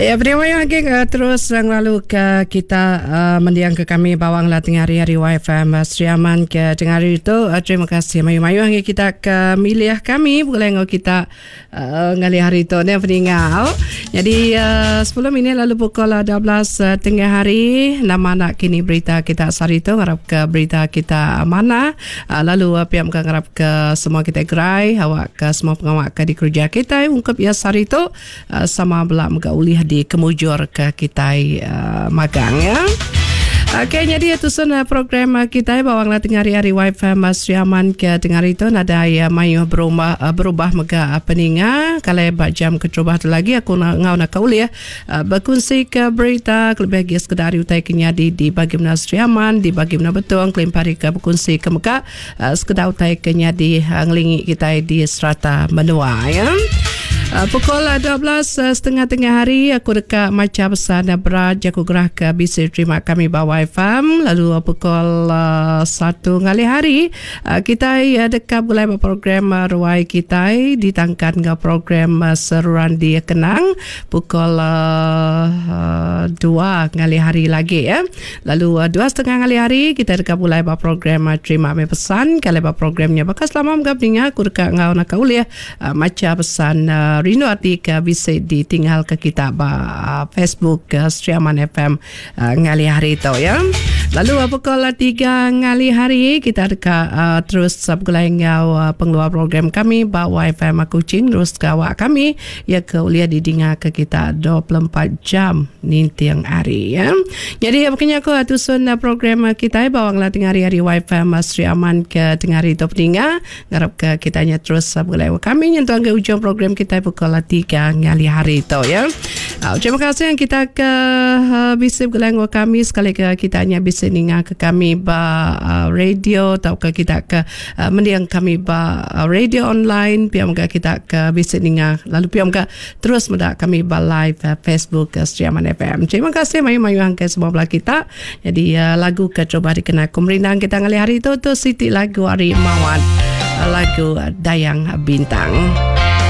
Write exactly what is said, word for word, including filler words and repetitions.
Ya, terima lagi uh, terus lalu ke kita uh, mendiang ke kami bawang lah tengah hari hari Y F M uh, Sri Aman ke tengah hari itu. Uh, terima kasih mayu-mayu hari kita ke milih kami boleh ngau kita uh, ngali hari itu ni peninggal. Jadi uh, sepuluh minit lalu pukul dua belas uh, tengah hari nama nak kini berita kita sehari itu ngarap ke berita kita mana uh, lalu uh, pihak muka ngarap ke semua kita gerai awak ke semua pengawak ke di kerja kita ungkap ya sehari itu uh, sama belak muka ulih di kemujur ke kita uh, magang ya. Okey, jadi itu sudah program kita bawang lah tengah hari-hari Y F M Sri Aman ke tengah hari itu nada ya mayu berubah berubah mega peninga kalau bak jam keterubah tu lagi aku nak ngau nak kaul ya berkongsi ke berita lebih lagi sekedar utai kenya di di bagi mana Sri Aman di bagi mana Betong kelimpari ke berkongsi ke mega sekedar utai kenya di ngelingi kita di serata menua ya. Uh, pukul dua belas setengah tengah hari aku dekat maca pesan berat jaku gerah ke B C terima kami bawa F M lalu pukul uh, satu ngalih hari uh, kita uh, dekat mulai program uh, ruai kita ditangkan ke program uh, seruran di Kenang pukul uh, uh, dua ngalih hari lagi ya. Lalu uh, dua setengah ngalih hari kita dekat mulai program uh, terima kami pesan kalau programnya bakal selama menggabungnya aku dekat ngau nak uliah uh, maca pesan uh, Rino arti ke bisa ditinggal ke kita ba Facebook ke Sri Aman F M uh, ngali hari itu ya. Lalu pukul tiga ngali hari kita dekat uh, terus bergulai ngau uh, pengeluar program kami ba Y F M Kuching terus ke awak kami ya ke ulia didengar ke kita dua puluh empat jam nintiang hari ya. Jadi makanya aku atusun program kita bawang lah tengah hari-hari Y F M Sri Aman ke tengah hari itu peninga ngarap ke kitanya terus bergulai kami nyentuh ke ujung program kita pukul tiga ngali hari itu ya. Uh, terima kasih yang kita ke uh, bisa bergulai kami sekali ke kita hanya bisa ninga ke kami ba uh, radio atau ke kita ke uh, mendiang kami ba uh, radio online pihak muka kita ke bisa ninga lalu pihak muka terus mendak kami ba live uh, Facebook uh, Sri Aman F M. Terima kasih mayu-mayu angka semua belah kita. Jadi uh, lagu ke coba dikenal kumerindang kita ngali hari itu tu Siti lagu Ari Mawat lagu Dayang Bintang.